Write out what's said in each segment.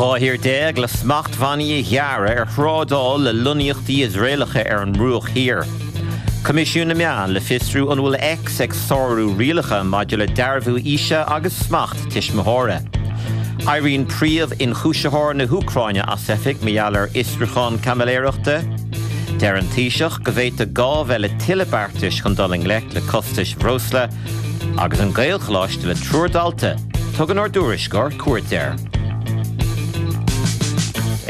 12 thír le smachtbhannaí a ghearradh ar thrádáil le lonnaíochtaí Iosraelacha ar an mBruach Thiar. Coimisiún na Meán le fiosrú an bhfuil X ag sárú rialacha maidir le dearbhú aoise agus smacht tuismitheora. Éiríonn príomh-ionchúisitheoir na hÚcráine as oifig mar gheall ar fhiosrúchán caimiléireachta. Deir an Taoiseach go bhféadfadh gá bheith le tuilleadh beartais chun dul i ngleic le costais bhreosla. Agus an Gaelcholáiste le triúr dalta, tugann ár dtuairisceoir cuairt air.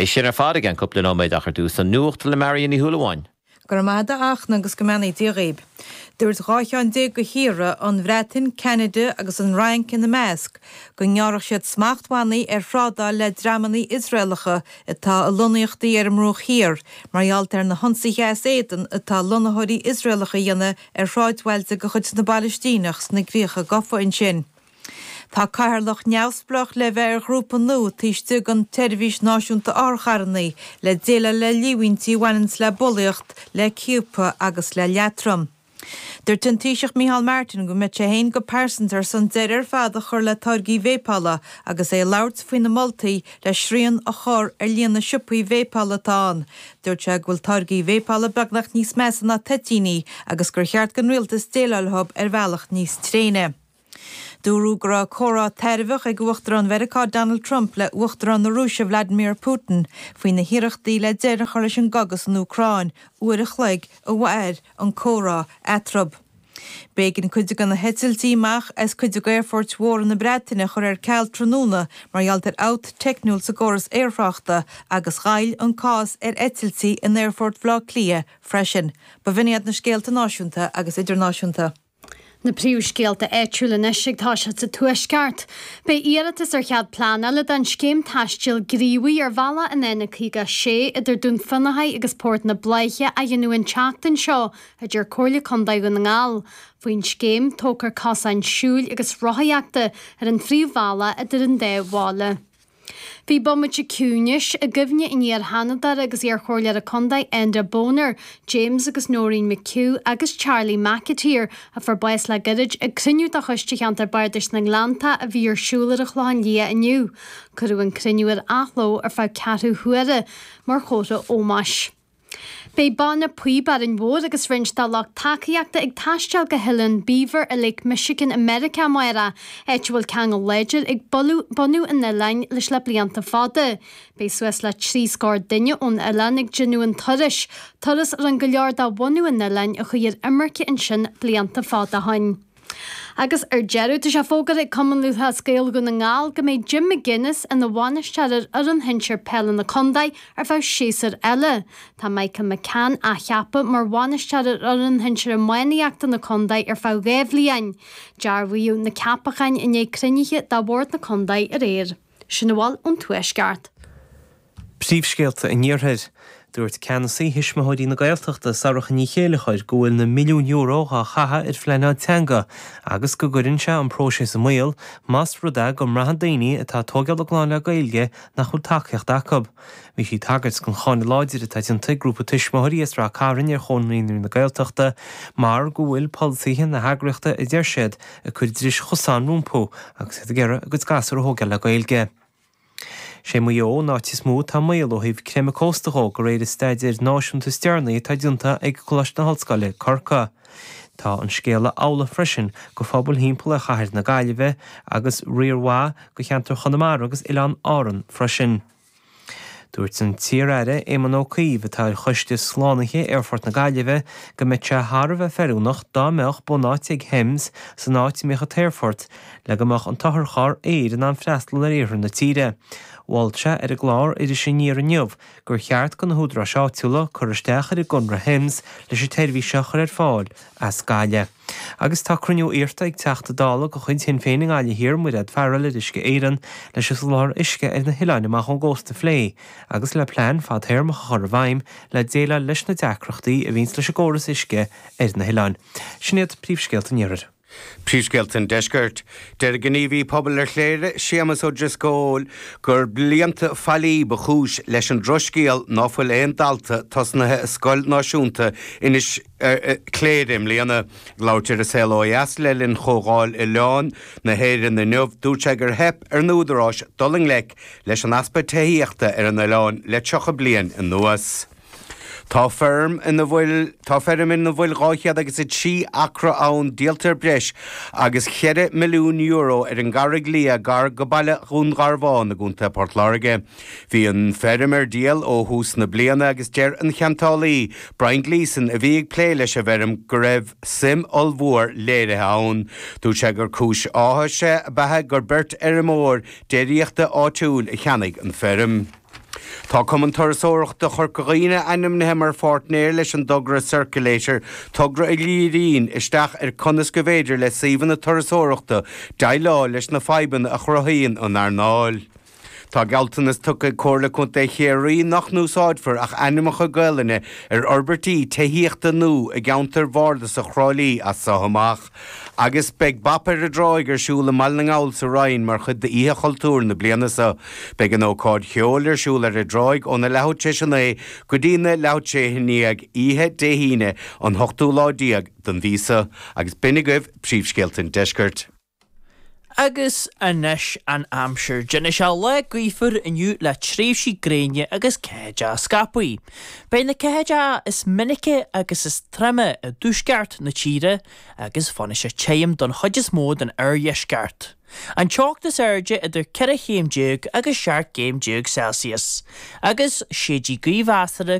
É sin ar fad i gceann cúpla nóiméad ach ar dtús an nuacht le Marion Ní Shúilleabháin. Go raibh maith agat a Fhachtna agus go mbeannaí Dia dhaoib. Dúirt 12 cheann de thíortha, an Bhreatain, Ceanada agus an Fhrainc ina measc, go ngearrfadh siad smachtbhannaí ar thrádáil le dreamanna Iosraelacha atá i lonnaíochtaí ar an mBruach Thiar mar gheall ar na hionsaithe as éadan atá lonnaitheoirí Iosraelacha a dhéanamh ar shráidbhailte de chuid na bPalaistíneach sna críocha gafa ansin. Tá cathaoirleach neamhspleách le bheith ar ghrúpa nua taobh istigh den tSeirbhís Náisiúnta Otharcharranna le déileáil le líomhaintí a bhaineanns le bulaíocht, le ciapadh agus le leatrom. Dúirt an Taoiseach Micheál Martin go mbeidh sé féin go pearsanta ar son deireadh ar fad a chur le táirgí véipeála agus é ag labhairt faoi na moltaí le srian a chur ar líon na siopaí véipeála atá ann. Dúirt sé go bhfuil táirgí véipeála beagnach níos measa ná toitíní agus gur cheart don rialtas déileáil leo ar bhealach níos tréine. Dúradh go raibh comhrá tairbheach ag Uachtarán Mheiriceá Donald Trump le Uachtarán na Rúise Vladimir Putin faoi na hiarrachtaí le deireadh a chur leis an gcogadh san Úcráin, uair a chloig a mhair an comhrá eatarthu. B'éigean cuid de na heitiltí amach as cuid de aerfoirt mhóra na Breataine a chur ar ceal tráthnóna mar gheall ar fhabht teicniúil sa gcóras aerthráchta agus mhoill an cás ar eitiltí in Aerfort Bhaile Átha Cliath freisin. B'in iad na scéalta náisiúnta agus idirnáisiúnta. Na príomhscéalta áitiúla anois ag toiseacht sa Tuaisceart. Beidh iarratas ar chead pleanála don scéim taistil gníomhaigh ar bhealach an N56 idir Dún Fionnachaidh agus Port na Bláiche á dhéanamh an tseachtain seo, a deir Comhairle Contae Dhún na nGall. Faoin scéim, tógfar cosáin siúil agus rothaíochta ar an phríomhbhealach idir an dá bhaile. Bhí bomaite ciúnais i gcuimhne an iar-Sheanadóra agus iar-Chomhairleora Contae Enda Boner, James agus Noreen McHugh agus Charlie McAteer, a fuair bás le gairid, ag cruinniú de Choiste Cheantar Bardais na nGleanntach a bhí ar siúl ar an Chlochán Liath inniu. Cuireadh an cruinniú ar athló ar feadh ceathrú huaire mar chomhartha ómóis. Beidh Banna Píob Árainn Mhór agus roinnt dá lucht tacaíochta ag taisteal go hOileán Beaver i Lake Michigan i Meiriceá amárach, áit a bhfuil ceangal láidir ag bunadh an oileáin leis le blianta fada. Beidh suas le 3 scór duine ón oileán ag déanamh an turais, turas a rinne go leor de bhunadh an oileáin a chuaigh ar imirce ansin blianta fada ó shin. Agus ar deireadh, tá sé fógartha ag Cumann Lúthchleas Gael Dhún na nGall go mbeidh Jim McGuinness ina bhainisteoir ar fhoireann shinsir peile na contae ar feadh séasúir eile. Tá Michael McCann á cheapadh mar bhainisteoir ar fhoireann shinsir iománaíochta na contae ar feadh 2 bhliain. Dearbhaíodh na ceapacháin i ndiaidh cruinnithe de bhord na contae aréir. Sin a bhfuil ón Tuaisceart. Príomhscéalta an Iarthair. Dúirt ceannasaí Thuismitheoirí na Gaeltachta, Sorcha Ní Chéilleachair, go bhfuil na milliúin euro á chaitheamh ar phleanáil teanga agus go gcuireann sé an próiseas i mbaol más rud é go mbraitheann daoine atá ag tógáil a gclann le Gaeilge nach bhfuil tacaíocht acu. Bhí sí ag tagairt don cháineadh láidir atá déanta ag grúpa tuismitheoirí as Rath Cairn ar Chomhar Naíonraí na Gaeltachta mar go bhfuil polasaithe na heagraíochta, a deir siad, ag cur dris chosáin rompu agus iad ag iarraidh a gcuid gasúr a thógáil le Gaeilge. Sé Maigh Eo an áit is mó atá i mbaol ó thaobh creimeadh cósta dhó, de réir an staidéir náisiúnta is deireanaí atá déanta ag Coláiste na hOllscoile, Corcaigh. Tá an scéala amhlaidh freisin go phobail thimpeall ar chathair na Gaillimhe agus riar mhaith go cheantar Chonamara agus Oileáin Árann freisin. Dúirt an t-iar-aire Éamon Ó Cuív, atá ar choiste slánaithe Aerfort na Gaillimhe, go mbeadh sé thar a bheith feiliúnach dá mbeadh bunáite ag Thames san áit a mbeadh an t-aerfort le go mbeadh an t-otharcharr aeir in ann freastal ar iarthar na tíre. Mhol sé ar an gclár Iris Aniar inniu gur cheart do na húdaráis áitiúla cur isteach ar an gconradh Thames leis an tseirbhís seo a chur ar fáil as Gaillimh. Agus tá cruinniú iarrta ag Teachta Dála de chuid Shinn Féin i nGaillimh Thiar, Mairéad Farrell, ar Uisce Éireann leis an soláthar uisce ar na hoileáin amach ón gcósta a phlé agus le plean fadthéarmach a chur i bhfeidhm le déileáil leis na deacrachtaí a bhíonns leis an gcóras uisce ar na hoileáin. Sin iad príomhscéalta an iarthair. Príomhscéalta an Deiscirt. Deir gníomhaí pobail ar Chléire, Séamus Ó Drisceoil, gur blianta faillí ba chúis leis an drochscéal ná fuil aon dalta tosnaithe i Scoil Náisiúnta Inis Chléire i mbliana. Ag labhairt ar An Saol Ó Dheas le linn Chomhdháil Oileáin na hÉireann inniu, dúirt sé gur theip ar na údaráis dul i ngleic leis an easpa tithíochta ar an oileán le 30 bliain anuas. Tá feirm ina bhfuil Tá feirm ina bhfuil 203 acra ann díolta ar breis agus €4 milliún ar an gCarraig Liath gar go baile Dhún Garbhán i gContae Port Láirge. Bhí an feirm ar díol ó thús na bliana agus deir an ceantálaí, Brian Gleeson, a bhí ag plé leis an bhfeirm go raibh suim ollmhór léirithe ann. Dúirt sé gur cúis áthais ab ea gur beirt fheirmeoir déiríochta áitiúil a cheannaigh an feirm. Tá Cumann Turasóireachta Chorca Dhuibhne ainmnithe mar pháirtnéir leis an dtogra Circulator, togra a dhíríonn isteach ar conas go bhféidir le suíomhanna turasóireachta déileáil leis na fadhbanna a chruthaíonn an earnáil. Tá gealltanas tugtha ag Comhairle Contae Chiarraí nach n-úsáidfear ach ainmneacha Gaelainne ar fhorbairtí tithíochta nua i gceantar bhardasach Thrá Lí as so amach. Agus beidh Bap ar an dTráigh ar siúl i mBaile na nGall sa Rinn mar chuid d'Oíche Chultúir na bliana seo. Beidh an ócáid cheoil ar siúl ar an dtráigh óna leathuair tar éis a 9 go dtí na leathuair tar éis a 11 oíche Dé hAoine an hochtú lá den mhí seo. Agus b'in agaibh príomhscéalta an deiscirt. Agus anois an aimsir. Déanfaidh sé lá gaofar inniu le tréimhsí gréine agus ceathaideacha scaipthe. Beidh na ceathaideacha is minice agus is troime i dtuaisceart na tíre agus fanfaidh sé tirim don chuid is mó den oirdheisceart. An teocht is airde idir 14 chéim agus 17 gcéim Celsius. Agus séidfidh gaoth mheasartha.